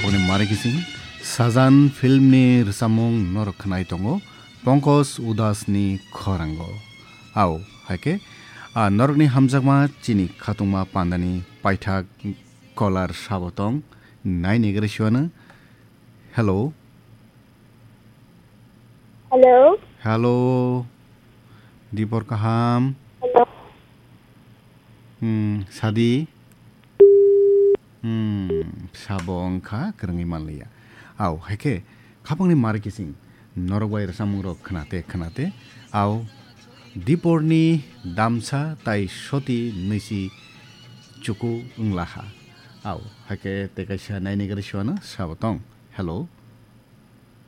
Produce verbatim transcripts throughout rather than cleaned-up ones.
Boni mari kising Sajan filmni rwchapmung norok khwnai tongo Pankaj Udasni khorango. Au, haikhe, a norokni hamjakma chini khatungma pandani paithak caller sabo tong, naini gari siwano. Hello. Hello. Hello. Dipor kaham. Hello. Hmm, sadi. Hmm, sabo wngkha kwrwngwi manliya. Au, haikhe, khapangni mari kising, norok bai rwchapmungrok khnate khnate, au, Diporni damsa tai soti nwisi chuku wnglaha. Au, haikhe tei kaisa naini gari siwano sabo tong. Hello.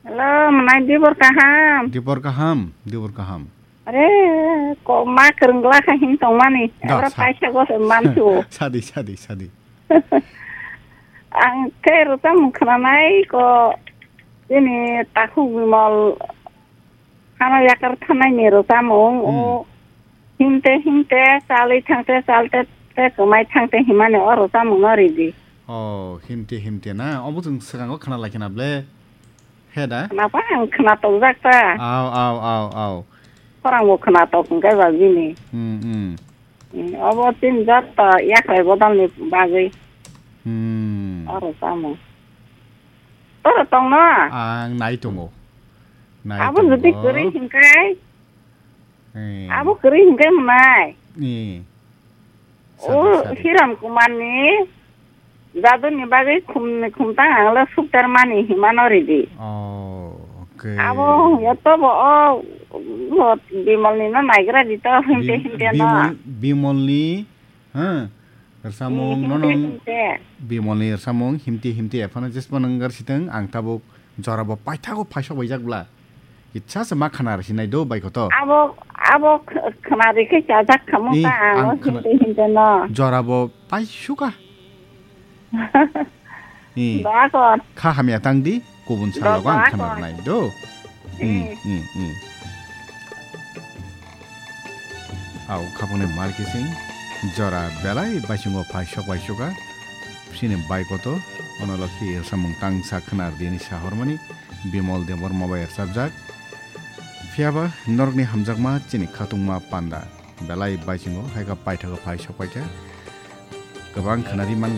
Hello, mwnai Dibor kaham? Dibor kaham, Dibor kaham. Are, ko ma kwrwngla kha hin tongmani. Da, Abra sa- paisa go se mansu. Sadi, sadi, sadi. Ang khe rwchapmung khwnanai ko chini takhuk Bimal hano yakar thanai ni rwchapmung. Hmm. O himte himte chalwi thangte chalte te kwmai thangte himani o rwchapmung no ridi. Oh, himte himte na? Obo chwng swkango khna lai khna ble. He da? Khna pa ang khna tongjak ta. Au, au, au, au. Khorang bo khna tok hwnkhe ba bini. Hmm, hmm. Hmm, obo tin jat to yakhrai bodol ni bagwi. Hmm. Oro tamo. Toro tong no? Ang nai tongo. Nai Abo tongo. Jodi kwrwi hwnkhe? Eh. Abo kwrwi hwnkhe mwnai? Eh. Sadi, O sadi. Hiram Kumar ni jaduni bagwi khum, khumtang ang le suktar mani himano ridi. Oh, okay. Abo hwnkhe to bo o, o Bimal ni no naigra di to himte Bim-, himte no. Bimal, Bimal ni, ha? Rwchapmung Hmm, nono himte himte. Bimal ni rwchapmung himte himte aphano jespa nang gar siteng ang tabuk Jora bo paithago phaisok baijak bla. Kitsa se ma khana rw sinai do bai koto. Abo, abo kh-, khna rikhe chajak khamung Ni, ta ang ang o khna-, hinte hinte no. Jora bo paisuka. Ni. Doa kor. Kha hamya tang di, kubun sal Doa, logo ang doa khna kor. Rwnai do. Ni, Hmm. Ni, ni. Au khapangni mar kising jora belai baisingo phaisok baisuka. Sini bai koto, ono lokhi samung tangsa khna rwdi ni sahormani, Bimol Debbarma bai rwchapjak. Phiyaba norokni hamjakma chini khatungma panda belai baisingo, haikha paithago phaisok paikha. Kwbang khna ri man